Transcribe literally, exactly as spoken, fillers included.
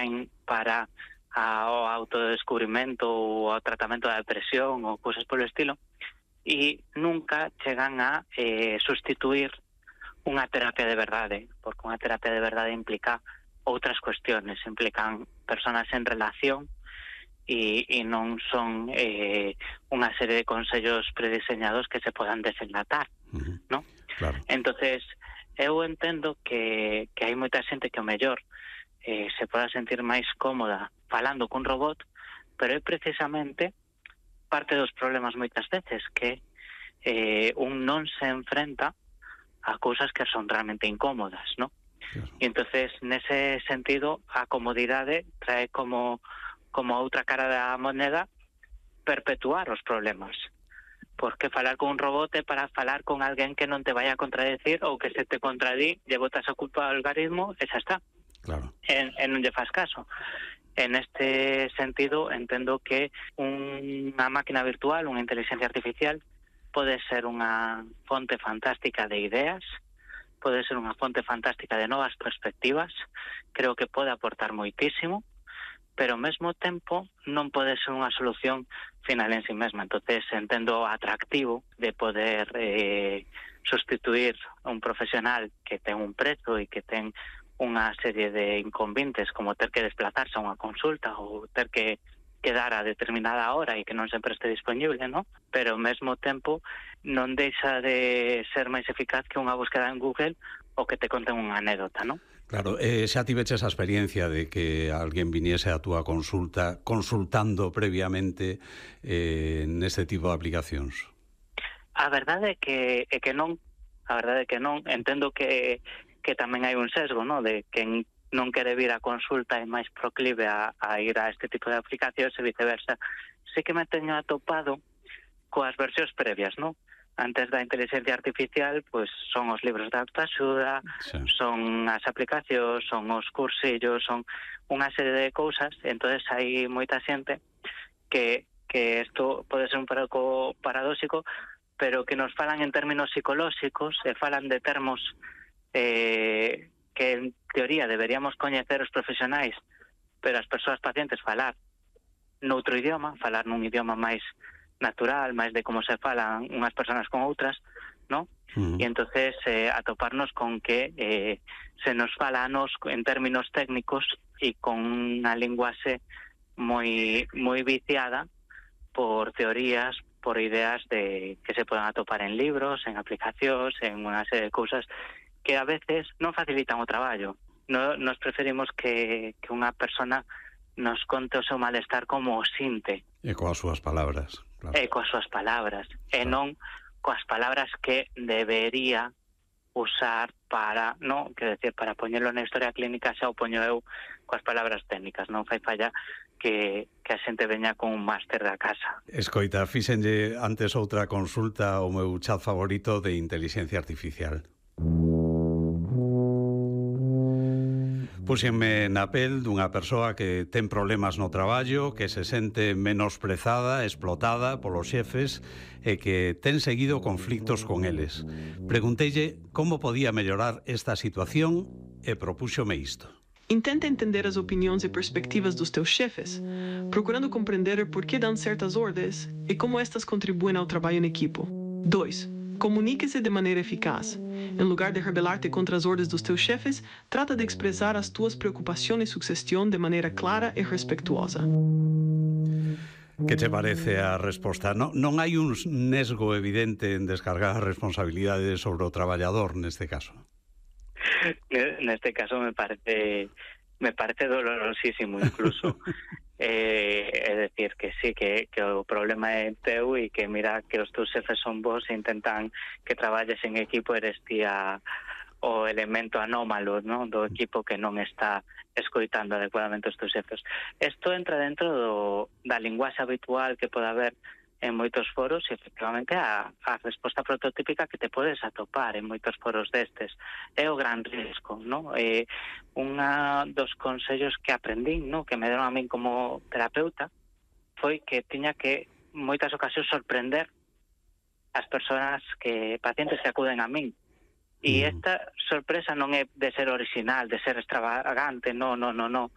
traen para a, o autodescubrimento ou ao tratamento da depresión ou cousas polo estilo, e nunca chegan a eh, sustituir unha terapia de verdade, porque unha terapia de verdade implica outras cuestiones, implican personas en relación e, e non son eh, unha serie de consellos prediseñados que se podan desenlatar, uh-huh. ¿no? Claro. Entonces, eu entendo que, que hai moita xente que o mellor eh, se poda sentir máis cómoda falando cun robot, pero é precisamente parte dos problemas moitas veces que eh, un non se enfrenta a cousas que son realmente incómodas, ¿no? Claro. E entonces, nese sentido, a comodidade trae como como outra cara da moneda perpetuar os problemas. Porque falar con un robot é para falar con alguén que non te vai a contradecir ou que se te contradí, lle botas a culpa ao algoritmo e xa está. Claro. E, e non lle faz caso. En este sentido, entendo que unha máquina virtual, unha inteligencia artificial, pode ser unha fonte fantástica de ideas, pode ser unha fonte fantástica de novas perspectivas, creo que pode aportar moitísimo, pero ao mesmo tempo non pode ser unha solución final en sí mesma. Entonces entendo o atractivo de poder eh, sustituir un profesional que ten un prezo e que ten unha serie de inconvenientes como ter que desplazarse a unha consulta ou ter que quedar a determinada hora e que non sempre este disponible, ¿no? Pero ao mesmo tempo non deixa de ser máis eficaz que unha búsqueda en Google ou que te conten unha anécdota, ¿no? Claro, eh, xa tiveches a experiencia de que alguén viniese a túa consulta consultando previamente eh, neste tipo de aplicacións? A verdade é que, é que non, a verdade é que non, entendo que que tamén hai un sesgo, ¿no? De quen non quere vir a consulta é máis proclive a, a ir a este tipo de aplicacións e viceversa. Sí que me teño atopado coas versións previas, ¿no? Antes da inteligencia artificial, pues son os libros de autoaxuda, sí. son as aplicacións, son os cursillos, son unha serie de cousas, entonces hai moita xente que que isto pode ser un pouco paradóxico, pero que nos falan en términos psicolóxicos e falan de termos eh, que en teoría deberíamos coñecer os profesionais, pero as persoas pacientes falar noutro idioma, falar nun idioma máis natural, máis de como se falan unhas persoas con outras, ¿no? Uh-huh. E entonces eh, atoparnos con que eh, se nos fala a nos en términos técnicos e con unha linguaxe moi moi viciada por teorías, por ideas de que se poden atopar en libros, en aplicacións, en unha serie de cousas que a veces non facilitan o traballo. No, nos preferimos que, que unha persona nos conte o seu malestar como o sinte. E coas súas palabras. Claro. E coas súas palabras. Claro. E non coas palabras que debería usar para, non, quero decir, para poñelo na historia clínica xa o poño eu coas palabras técnicas. Non fai falla que, que a xente veña con un máster da casa. Escoita, fíxenlle antes outra consulta ao meu chat favorito de inteligencia artificial. Puxenme na pel dunha persoa que ten problemas no traballo, que se sente menosprezada, explotada polos xefes e que ten seguido conflictos con eles. Pregunteille como podía mellorar esta situación e propúxome isto. Intenta entender as opiniões e perspectivas dos teus chefes, procurando compreender por que dão certas ordens e como estas contribuem ao trabalho em equipo. dois. Comunique-se de maneira eficaz. Em lugar de rebelarte contra as ordens dos teus chefes, trata de expressar as tuas preocupações e sugestão de maneira clara e respetuosa. Que te parece a resposta? Non, non hai un nesgo evidente en descargar a responsabilidade sobre o traballador neste caso? Neste caso me parece me parece dolorosísimo incluso. Eh, é decir, que sí, que, que o problema é teu e que mira que os teus xefes son vos e intentan que traballes en equipo, eres ti a, o elemento anómalo, ¿no? Do equipo que non está escoitando adecuadamente os teus xefes. Isto entra dentro do, da linguaxe habitual que pode haber en moitos foros e efectivamente a, a resposta prototípica que te podes atopar en moitos foros destes. É o gran risco, ¿no? Eh, unha dos consellos que aprendín, ¿no? Que me deron a min como terapeuta foi que tiña que moitas ocasións sorprender as persoas que pacientes que acuden a min. E esta sorpresa non é de ser original, de ser extravagante, no, no, no, no.